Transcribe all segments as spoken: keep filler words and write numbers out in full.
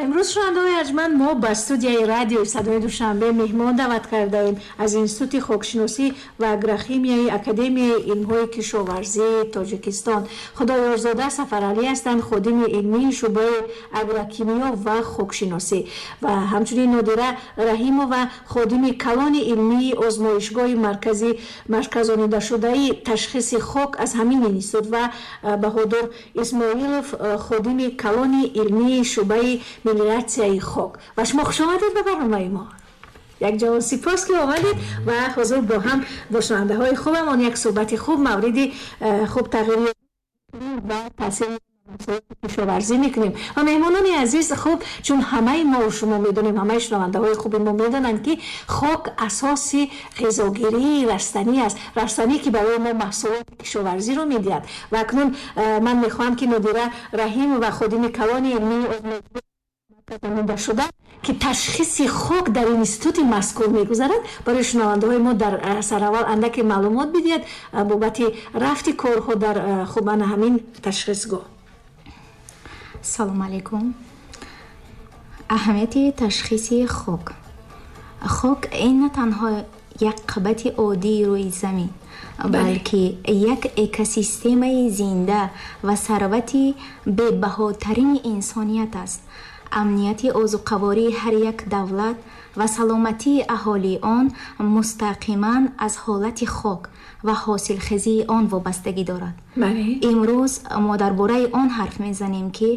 Имрӯз, шунавандаҳои арҷманд, мо ба студияи радиои Садои Душанбе меҳмон даъват кардаем аз Институти хокшиносӣ ва агрохимияи Академияи илмҳои кишоварзии Тоҷикистон. Худоёрзода Сафаралӣ ҳастанд, ходими илмии шӯъбаи агрокимиё ва хокшиносӣ, ва ҳамчунин Нодира Раҳимова, ходими калони илмии озмоишгоҳи марказӣ марказонидашудаи ташхиси хок аз ҳамин институт, ва Баҳодур Исмоилов, ходими калони илмии шӯъбаи мелиоратсияи хок. Ва шумо хуш омадед ба барномаи мо. Як ҷаҳон сипос, ки омадед ва ҳозир бо ҳам бо шунавандаҳои хубамон як суҳбати хуб мавриди хуб тағйири ва таъсири кишоварзӣ мекунем. Ва меҳмонони азиз, хуб, чун ҳамаи мо шумо медонем, ҳамаи шунавандаҳои хуби мо медонанд, ки хок асоси ғизогирии растанӣ аст, растанӣ, ки барои мо маҳсулоти кишоварзиро медиҳад. Ва акнун ман мехоҳам, ки Нодира Раҳимова, ходими калони илмии озмоишгоҳ шуда, ки ташхиси хок дар институти мазкур мегузарад, барои шунавандаҳои мо дар сараввал андаке маълумот бидиҳад бобати рафти корҳо дар хуб ана ҳамин ташхисгоҳ. Салом алейкум. Аҳамияти ташхиси хок. Хок ин на танҳо як қабати оддии рӯи замин, балки як экосистемаи зинда ва сарвати бебаҳотарини инсоният аст. Амнияти озуқавории ҳар як давлат ва саломатии аҳолии он мустақиман аз ҳолати хок ва ҳосилхезии он вобастагӣ дорад. Имрӯз мо дар бораи он ҳарф мезанем, ки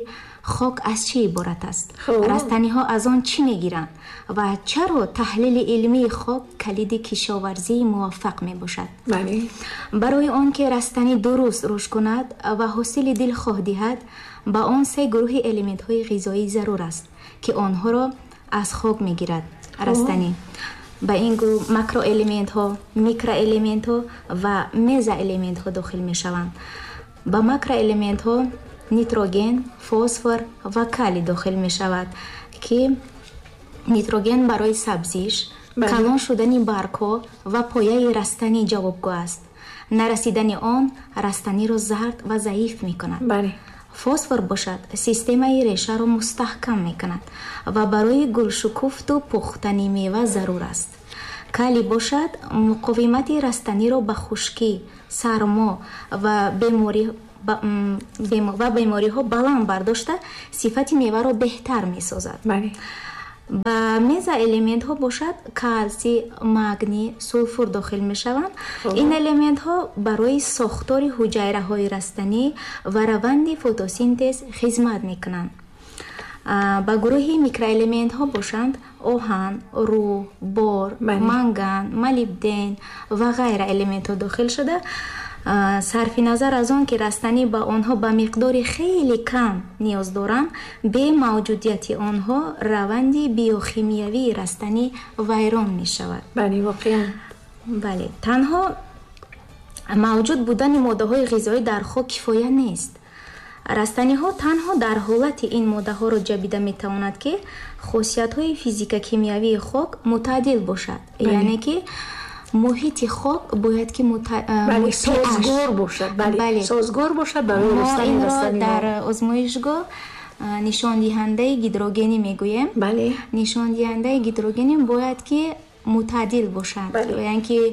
хок аз чӣ иборат аст, растаниҳо аз он чӣ мегиранд ва чаро таҳлили илмии хок калиди кишоварзии муваффақ мебошад. Барои он ки растанӣ дуруст рушд кунад ва ҳосили дилхоҳ диҳад, ба он се гурӯҳи элементҳои ғизоӣ зарур аст, ки онҳоро аз хок мегирад растанӣ. Ба ин гурӯҳ макроэлементҳо, микроэлементҳо ва мезоэлементҳо дохил мешаванд. Ба макроэлементҳо нитроген, фосфор ва калий дохил мешавад, ки нитроген барои сабзиш, калон шудани баргҳо ва пояи растанӣ ҷавобгӯ аст. Нарасидани он растаниро зард ва заиф мекунад. Фосфор бошад, системаи решаро мустаҳкам мекунад ва барои гулшукуфту пухтани мева зарур аст. Калий бошад, муқовимати растаниро ба хушкӣ, сармо ва ва бемориҳо баланд бардошта, сифати меваро беҳтар месозад. Ба мезоэлементҳо бошад, калсий, магний, сулфур дохил мешаванд. Ин элементҳо барои сохтори ҳуҷайраҳои растанӣ ва раванди фотосинтез хизмат мекунанд. Ба гурӯҳи микроэлементҳо бошанд, оҳан, рӯҳ, бор, манган, молибден ва ғайра элементҳо дохил шуда, сарфи назар аз он ки растанӣ ба онҳо ба миқдори хеле кам ниёз доранд, бе мавҷудияти онҳо раванди биохимиявии растанӣ вайрон мешавад. Бале, воқеан. Бале, танҳо мавҷуд будани моддаҳои ғизоӣ дар хок кифоя нест. Растаниҳо танҳо дар ҳолати ин моддаҳоро ҷабида метавонад, ки хосиятҳои физика-кимиявии хок мӯътадил бошад, яъне ки муҳити хок бояд ки созгор бошад, созгор бошад барои мо инро дар озмоишгоҳ нишондиҳандаи гидрогенӣ мегӯем. Нишондиҳандаи гидрогенӣ бояд ки мӯътадил бошад,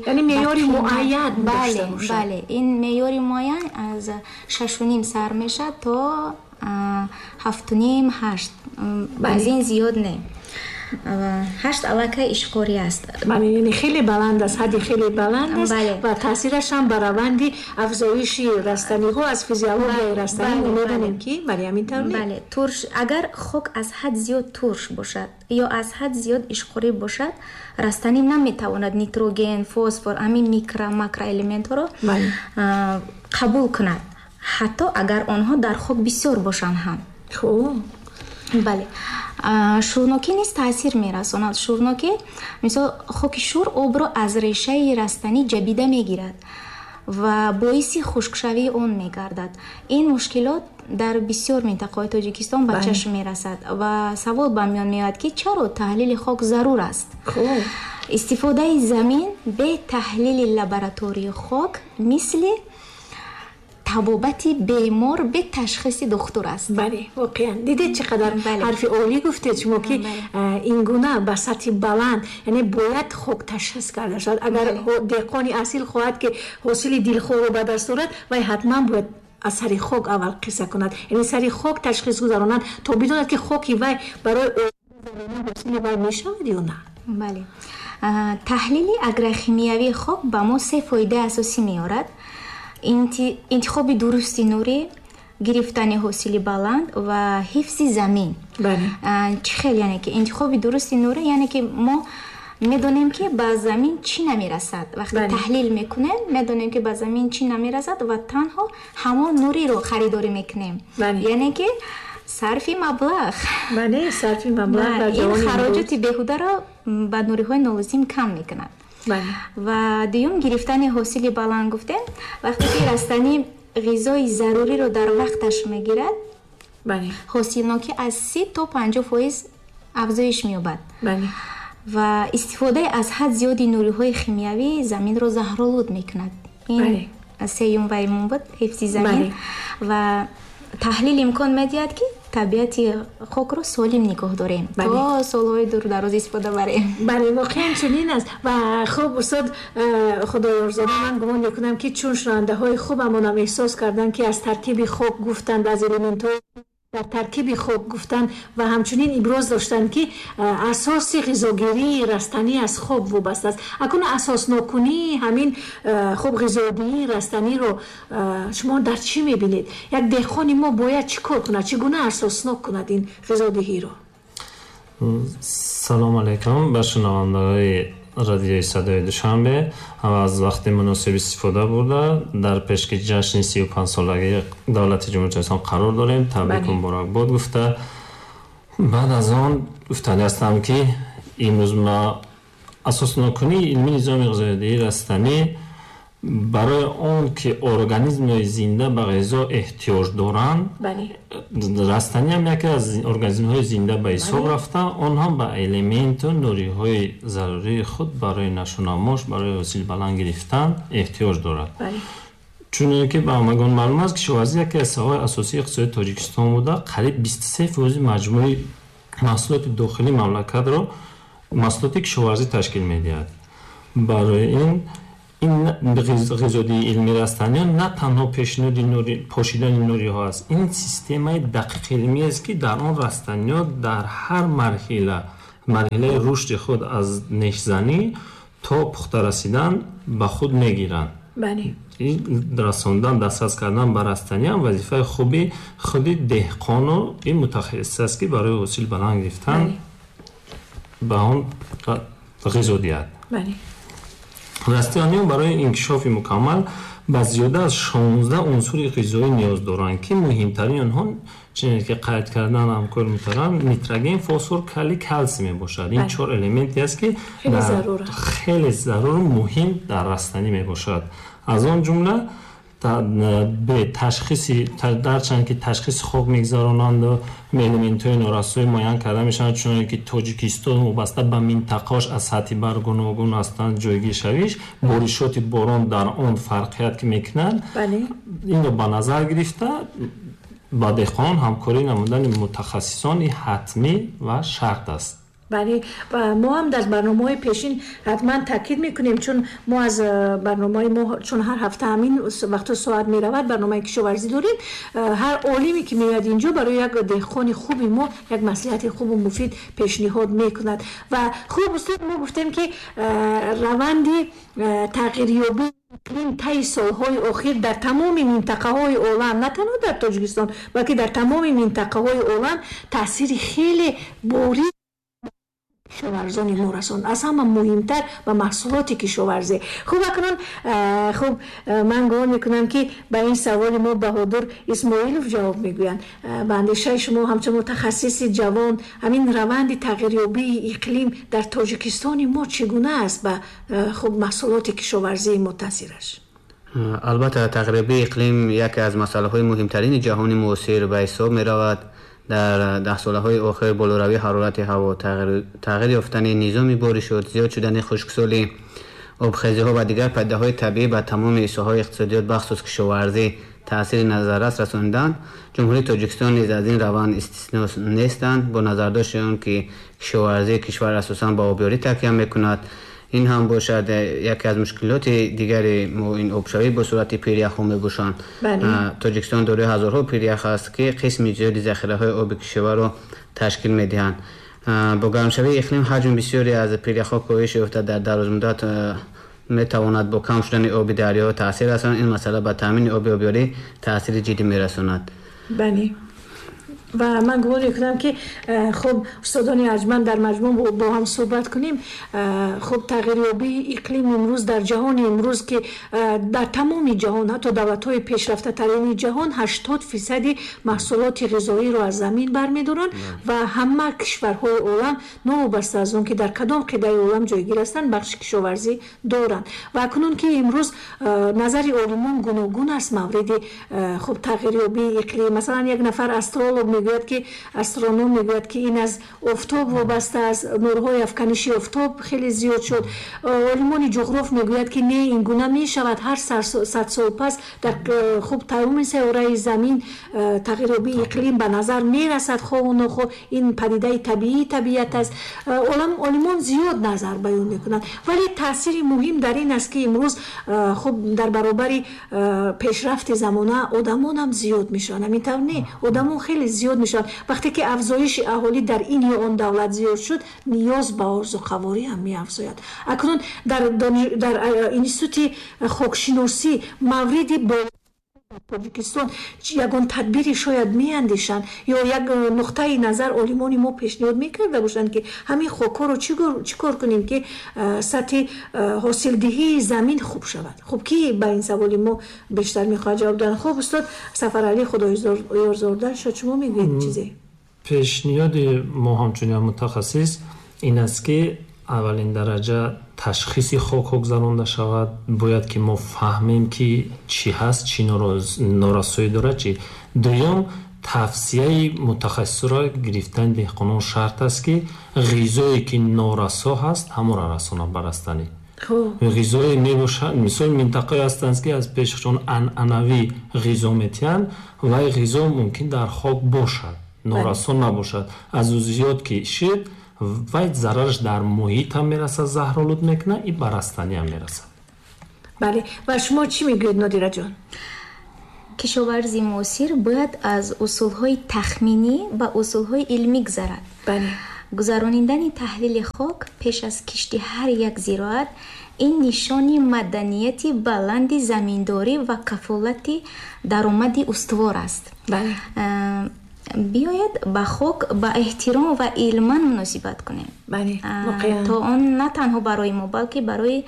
яъне меъёри муайян. Бале, бале, ин меъёри муайян аз шашу ним сар мешавад то ҳафту ним, ҳашт, аз ин зиёд не. Ҳашт аллакай ишқорӣ аст. Бале, яъне хеле баланд аст, ҳадди хеле баланд аст ва таъсираш ҳам ба раванди афзоиши растаниҳо, аз физиологияи растанӣ мо медонем, ки бале, ҳамин тавр. Бале, турш, агар хок аз ҳад зиёд турш бошад ё аз ҳад зиёд ишқорӣ бошад, растанӣ наметавонад нитроген, фосфор, ҳамин микро макроэлементҳоро қабул кунад, ҳатто агар онҳо дар хок бисёр бошанд ҳам. Хуб. Бале, шӯрнокӣ низ таъсир мерасонад. Шӯрнокӣ, мисол, хоки шӯр обро аз решаи растанӣ ҷабида мегирад ва боиси хушкшавии он мегардад. Ин мушкилот дар бисёр минтақаҳои Тоҷикистон ба чашм мерасад ва савол ба миён меояд, ки чаро таҳлили хок зарур аст. Истифодаи замин бе таҳлили лаборатории хок мисли табобати бемор бе ташхиси духтур аст. Бале, воқеан дидед чӣ қадар ҳарфи олӣ гуфтед шумо, ки ин гуна ба сатҳи баланд, яъне бояд хок ташхис карда шавад. Агар деҳқони асил хоҳад, ки ҳосили дилхоҳро ба даст орад, вай ҳатман бояд аз сари хок аввал қисса кунад, яъне сари хок ташхис гузаронад, то бидонад, ки хоки вай барои ҳосили вай мешавад ё на. Бале, таҳлили агрохимиявии хок ба мо се фоидаи асосӣ меорад: интихоби дурусти нурӣ, гирифтани ҳосили баланд ва ҳифзи замин. Чӣ хел? Яъне ки интихоби дурусти нурӣ, яъне ки мо медонем, ки ба замин чӣ намерасад. Вақте таҳлил мекунем, медонем, ки ба замин чӣ намерасад ва танҳо ҳамон нуриро харидорӣ мекунем, яъне ки сарфи маблағ. Бале, сарфи маблағ. Ин хароҷоти беҳударо ба нуриҳои нолозим кам мекунад. Ва дуюм, гирифтани ҳосили баланд гуфтем. Вақте ки растанӣ ғизои заруриро дар вақташ мегирад, ҳосилнокӣ аз си то панҷоҳ фоиз афзоиш меёбад. Ва истифодаи аз ҳад зиёди нуриҳои химиявӣ заминро заҳролуд мекунад. Ин сеюм ваймон буд, ҳифзи замин. Ва таҳлил имкон медиҳад, ки табиати хокро солим нигоҳ дорем, то солҳои дурдароз истифода барем. Бале, воқеан чунин аст. Ва хуб, устод Худоёрзода, ман гумон мекунам, ки чун шунавандаҳои хубамонам эҳсос карданд, ки аз таркиби хок гуфтанд, аз элементҳои дар таркиби хок гуфтанд ва ҳамчунин иброз доштанд, ки асоси ғизогирии растанӣ аз хок вобаста аст. Акнун асоснокунии ҳамин хуб ғизодиҳии растаниро шумо дар чӣ мебинед? Як деҳқони мо бояд чӣ кор кунад, чӣ гуна асоснок кунад ин ғизодиҳиро? Салом алайкум ба шунавандаҳои радиои Садои Душанбе. Аз вақти муносиб истифода бурда, дар пешки ҷашни сию панҷсолагии давлати Ҷумҳурии Тоҷикистон қарор дорем, табрику муборакбод гуфта, баъд аз он гуфтанӣ ҳастам, ки имрӯз ма асоснокунии илмии низоми ғизодиҳии растанӣ барои он ки организмҳои зинда ба ғизо эҳтиёҷ доранд, растанӣ ҳам яке аз организмҳои зинда ба ҳисоб рафта, он ҳам ба элементу нуриҳои зарурии худ барои нашунамош, барои ҳосил баланд гирифтан эҳтиёҷ дорад. Чуне ки ба ҳамагон маълум аст, кишоварзӣ яке аз соҳаҳои асосии иқтисоди Тоҷикистон буда, қариб бисту се фоизи маҷмӯи маҳсулоти дохилии мамлакатро маҳсулоти кишоварзӣ ташкил медиҳад. Барои ин ин ғизодиҳии илмии растаниён на танҳо пешниҳоди нури, пошидани нуриҳо аст, ин системаи дақиқи илмӣ аст, ки дар он растаниҳо дар ҳар марҳила марҳилаи рушди худ аз нешзанӣ то пухта расидан ба худ мегиранд. Расондан, дастрас кардан ба растаниам вазифаи хуби худи деҳқону ин мутахассис аст, ки барои ҳосил баланд гирифтан ба он ғизо диҳад. Растаниён барои инкишофи мукаммал ба зиёда аз шонздаҳ унсури ғизоӣ ниёз доранд, ки муҳимтарини онҳо, чуне ки қайд кардан ҳамкори муҳтарам, нитроген, фосфор, калий, калсий мебошад. Ин чор элементе аст, ки хеле заруру муҳим дар растанӣ мебошад. Аз он ҷумла бе ташхиси, дарчанд ки ташхиси хок мегузаронанд, элементҳои норасоӣ муайян карда мешаванд, чуноне ки Тоҷикистон вобаста ба минтақааш аз сатҳи бар гуногун ҳастанд ҷойгиршавиш, боришоти борон дар он фарқият ки мекунанд, инро ба назар гирифта ба деҳқонон ҳамкорӣ намудани мутахассисони ҳатмӣ ва шарт аст. Бале, мо ҳам дар барномаҳои пешин ҳатман таъкид мекунем, чун мо аз барномаҳои мо, чун ҳар ҳафта ҳамин вақту соат меравад, барномаи кишоварзӣ дорем, ҳар олиме ки меояд инҷо барои як деҳқони хуби мо як маслиҳати хубу муфид пешниҳод мекунад. Ва хуб, устод, мо гуфтем, ки раванди тағйирёбии иқлим таи солҳои охир дар тамоми минтақаҳои олам, на танҳо дар Тоҷикистон, балки дар тамоми минтақаҳои олам таъсири хеле борид кишоварзони мо расонд, аз ҳама муҳимтар ба маҳсулоти кишоварзӣ. Хуб, акнун хуб, ман гумон мекунам, ки ба ин саволи мо Баҳодур Исмоилов ҷавоб мегӯянд. Ба андешаи шумо, ҳамчун мутахассиси ҷавон, ҳамин раванди тағйирёбии иқлим дар Тоҷикистони мо чӣ гуна аст ба хуб маҳсулоти кишоварзии мо таъсираш? Албатта, тағйирёбии иқлим яке аз масъалаҳои муҳимтарини ҷаҳони муосир ба ҳисоб меравад. Дар даҳсолаҳои охир болоравии ҳарорати ҳаво, тағйир ёфтани низоми боришот, зиёд шудани хушксолӣ, обхезиҳо ва дигар падидаҳои табиӣ ба тамоми соҳаҳои иқтисодиёт, бахусус кишоварзӣ, таъсири назаррас расонданд. Ҷумҳурии Тоҷикистон низ аз ин раванд истисно нестанд. Бо назардошти он ки кишоварзии кишвар асосан ба обёрӣ такя мекунад, ин ҳам бошад яке аз мушкилоти дигари мо ин обшавӣ бо суръати пиряхҳо мебошанд. Тоҷикистон дорои ҳазорҳо пирях аст ки қисми зиёди захираҳои оби кишварро ташкил медиҳанд. Бо гармшавии иқлим ҳаҷми бисёре аз пиряхҳо коҳиш ёфта дар дарозмуддат метавонад бо кам шудани оби дарёҳо таъсир расонад. Ин масъала ба таъмини оби обёрӣ таъсири ҷиддӣ мерасонад. Бале. Ва ман гумон мекунам ки хуб устодони арҷманд дар маҷмӯъ бо ҳам суҳбат кунем. Хуб тағйирёбии иқлим имрӯз дар ҷаҳони имрӯз ки дар тамоми ҷаҳон ҳатто давлатҳои пешрафтатарини ҷаҳон ҳаштод фисади маҳсулоти ғизоиро аз замин бармедоранд ва ҳама кишварҳои олам новобаста аз он ки дар кадом қитъаи олам ҷойгир ҳастанд бахши кишоварзӣ доранд. Ва акнун ки имрӯз назари олимон гуногун аст мавриди хуб тағйирёбии иқлим. Масалан як нафар астролог мегӯяд ки астроном мегӯяд ки ин аз офтоб вобаста аст, нурҳои афканиши офтоб хеле зиёд шуд. Олимони ҷуғроф мегӯяд ки не, ин гуна мешавад, ҳар сад сол пас дар хуб тамоми сайёраи замин тағйирёбии иқлим ба назар мерасад, хоҳу нохоҳ ин падидаи табиии табиат аст. Олимон зиёд назар баён мекунанд, вале таъсири муҳим дар ин аст ки имрӯз хуб дар баробари пешрафти замона одамон ҳам зиёд мешаванд. Ҳамин тавр не, одамон хеле зиёд мешаванд. Вақте ки афзоиши аҳолӣ дар ин ё он давлат зиёд шуд, ниёз ба орзуқаворӣ ҳам меафзояд. Акнун дар дар институти хокшиносӣ мавриди Тоҷикистон ягон тадбире шояд меандешанд ё як нуқтаи назар олимони мо пешниҳод мекарда бошанд ки ҳамин хокҳоро чӣ кор кунем ки сатҳи ҳосилдиҳии замин хуб шавад. Хуб, ки ба ин саволи мо бештар мехоҳад ҷавоб диҳанд? Хуб, устод Сафаралӣ Худоёрзода, шояд шумо мегӯед чизе? Пешниҳоди мо ҳамчун як мутахассис ин аст ки аввалин дараҷа ташхиси хокҳо гузаронда шавад. Бояд ки мо фаҳмем ки чӣ ҳаст, чӣ норасоӣ дорад, чӣ. Дуюм, тавсияи мутахассисро гирифтани деҳқонон шарт аст ки ғизое ки норасо ҳаст ҳамонро расонад ба растанӣ. Ғизое мебошад, мисол минтақае ҳастанд ки аз пешашон анъанавӣ ғизо метиҳанд, вай ғизо мумкин дар хок бошад, норасо набошад. Аз ӯ зиёд ки шид, вай зарараш дар муҳит ҳам мерасад, заҳролуд мекунад и ба растанӣ ҳам мерасад. Бале, ва шумо чӣ мегӯед, Нодираҷон? Кишоварзи муосир бояд аз усулҳои тахминӣ ба усулҳои илмӣ гузарад. Бале. Гузаронидани таҳлили хок пеш аз кишти ҳар як зироат ин нишони маданияти баланди заминдорӣ ва кафолати даромади устувор аст. Бале. Биёед ба хок ба эҳтиром ва илман муносибат кунем. Бале, воқеан. То он на танҳо барои мо, балки барои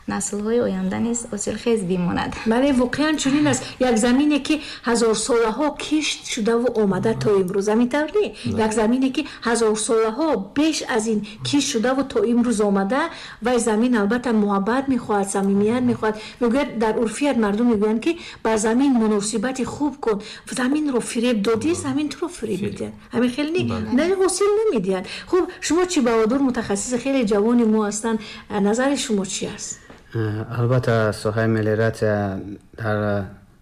наслҳои оянда низ ҳосилхез бимонад. Бале, воқеан чунин аст. Як замине ки ҳазорсолаҳо кишт шудаву омада то имрӯз, ҳамин тавр не? Як замине ки ҳазорсолаҳо беш аз ин кишт шудаву то имрӯз омада, вай замин албатта муҳаббат мехоҳад, самимият мехоҳад. Мегӯяд дар урфият мардум мегӯянд ки ба замин муносибати хуб кун, заминро фиреб додӣ, замин туро фиреб медиҳад. Ҳамин хел не? Не, ҳосил намедиҳад. Хуб, шумо чӣ, Баҳодур, мутахассиси хеле ҷавони мо ҳастанд, назари шумо чӣ аст? Албатта соҳаи мелиоратсия дар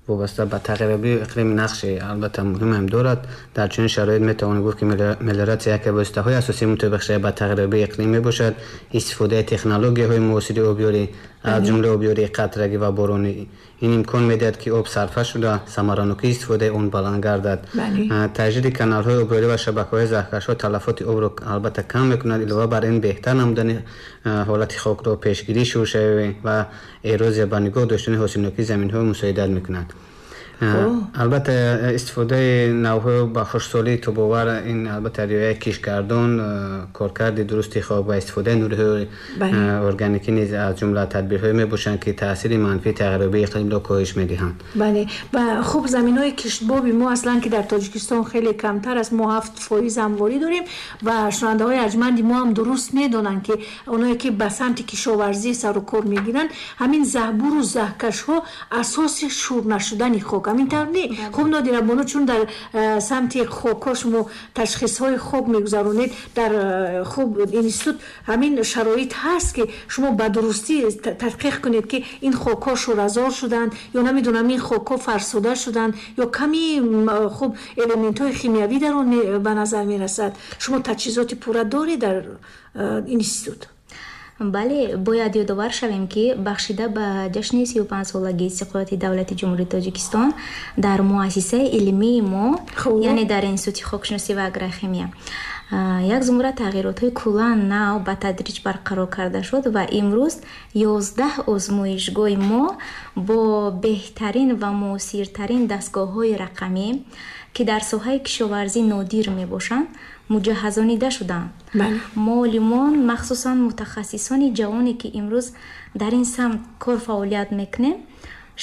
вобаста ба тағйирёбии иқлим нақши албатта муҳим ҳам дорад. Дар чунин шароит метавон гуфт ки мелиоратсия яке аз воситаҳои асосии мутобиқшавӣ ба тағйирёбии иқлим мебошад. Истифодаи технологияҳои муосири обёрӣ, аз ҷумла обёрии қатрагӣ ва боронӣ, ин имкон медиҳад ки об сарфа шуда самаранокии истифодаи он баланд гардад. Таҷдиди каналҳои обёрӣ ва шабакаҳои заҳкашҳо талафоти обро албатта кам мекунад. Илова бар ин беҳтар намудани ҳолати хокро, пешгирии шуршавӣ ва эрозия ба нигоҳ доштани ҳосилнокии заминҳо мусоидат мекунад. Албатта истифодаи навъҳои ба хушксолии тобовар, ин албатта риояи кишкардон, коркарди дурусти хок ва истифодаи нурҳои органикӣ низ аз ҷумла тадбирҳое мебошанд ки таъсири манфии тағйирёбии иқлимро коҳиш медиҳанд. Бале, ва хуб заминҳои киштбоби мо аслан ки дар Тоҷикистон хеле камтар аст, мо ҳафт фоиз ҳамворӣ дорем ва шунавандаҳои арҷманди мо ҳам дуруст медонанд ки оное ки ба самти кишоварзӣ сару кор мегиранд, ҳамин заҳбуру заҳкашҳо асоси шур нашудани хок Ҳамин тавр не? Хуб, Нодира бону, чун дар самти хокҳо шумо ташхисҳои хок мегузаронед, дар хуб институт ҳамин шароит ҳаст, ки шумо ба дурустӣ тадқиқ кунед, ки ин хокҳо шӯразор шуданд ё намедонам ин хокҳо фарсуда шуданд ё ками хуб элементҳои химиявӣ дар он ба назар мерасад. Шумо таҷҳизоти пурра доред дар институт? Бале, бояд ёдовар шавем, ки бахшида ба ҷашни сию панҷсолагии истиқлолияти давлати Ҷумҳурии Тоҷикистон дар муассисаи илмии мо, яъне дар Институти хокшиносӣ ва агрохимия, як зумра тағйиротҳои куллан нав ба тадриҷ барқарор карда шуд ва имрӯз ёздаҳ озмоишгоҳи мо бо беҳтарин ва муосиртарин дастгоҳҳои рақамӣ, ки дар соҳаи кишоварзӣ нодир мебошанд, муҷаҳҳазонида шуданд. Мо олимон, махсусан мутахассисони ҷавоне, ки имрӯз дар ин самт кор фаъолият мекунем,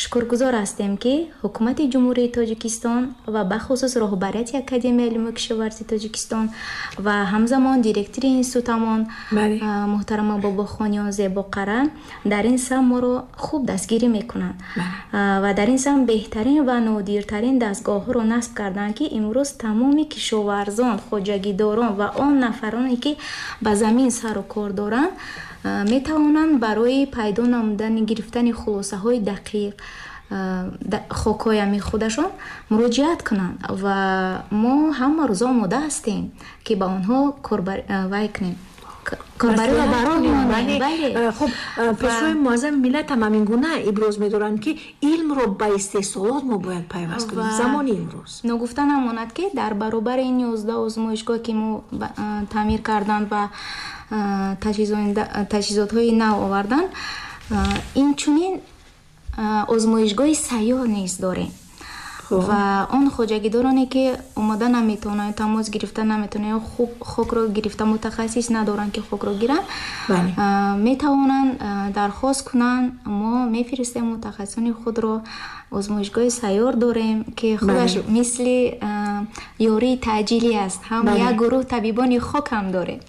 шукргузор ҳастем, ки ҳукумати Ҷумҳурии Тоҷикистон ва бахусус роҳбарияти Академияи илмҳои кишоварзии Тоҷикистон ва ҳамзамон директори институтамон муҳтарама Бобохониён Зебоқара дар ин самт моро хуб дастгирӣ мекунанд ва дар ин самт беҳтарин ва нодиртарин дастгоҳҳоро насб карданд, ки имрӯз тамоми кишоварзон, хоҷагидорон ва он нафароне, ки ба замин сару кор доранд, метавонанд барои пайдо намудани гирифтани хулосаҳои дақиқ хокҳои ҳамин худашон муроҷиат кунанд ва мо ҳама рӯза омода ҳастем, ки ба онҳо корвай кунем. Хуб, пешвои муаззами миллат ҳам ҳамин гуна иброз медоранд, ки илмро ба истеҳсолот мо бояд пайваст кунем замони имрӯз. Ногуфта намонад, ки дар баробари ин ёздаҳ озмоишгоҳ, ки мо таъмир карданд ва таҷҳизотҳои нав оварданд, инчунин озмоишгоҳи сайёҳ низ дорем ва он хоҷагидороне, ки омода наметавонанд, тамос гирифта наметавонанд ё хуб хокро гирифта мутахассис надоранд, ки хокро гиранд, метавонанд дархост кунанд. Мо мефиристем мутахассисони худро. Озмоишгоҳи сайёр дорем, ки худаш мисли ёрии таъҷилӣ аст. Ҳам як гурӯҳ табибони хок ҳам дорем,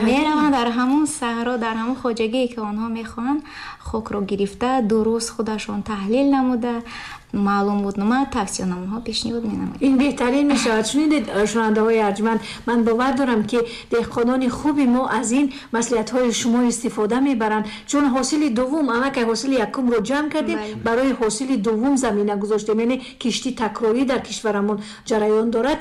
мераванд дар ҳамон саҳро, дар ҳамон хоҷагие, ки онҳо мехоҳанд, хокро гирифта, дуруст худашон таҳлил намуда, маълумотнома, тавсияномаҳо пешниҳод менамояд. Ин беҳтарин мешавад. Шунидед, шунавандаҳои арҷманд, ман бовар дорам, ки деҳқонони хуби мо аз ин маслиҳатҳои шумо истифода мебаранд, чун ҳосили дуввум, аллакай ҳосили якумро ҷамъ кардем, барои ҳосили дуввум замина гузоштем, яъне кишти такрорӣ дар кишварамон ҷараён дорад.